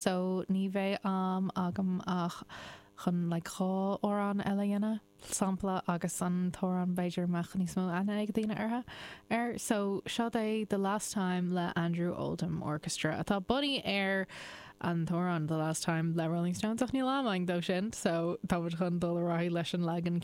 So ní bheidh am agam ach chun like 2 amhrán eile a dhéanamh, sampla agus an t-amhrán b'fhéidir a mbeadh níos mó aithne ag daoine orthu, air. So seo é The Last Time le Andrew Oldham Orchestra atá bunaithe ar an t-amhrán The Last Time le Rolling Stones ach níl am againn dó sin so táimid chun dul ar aghaidh leis an leagan.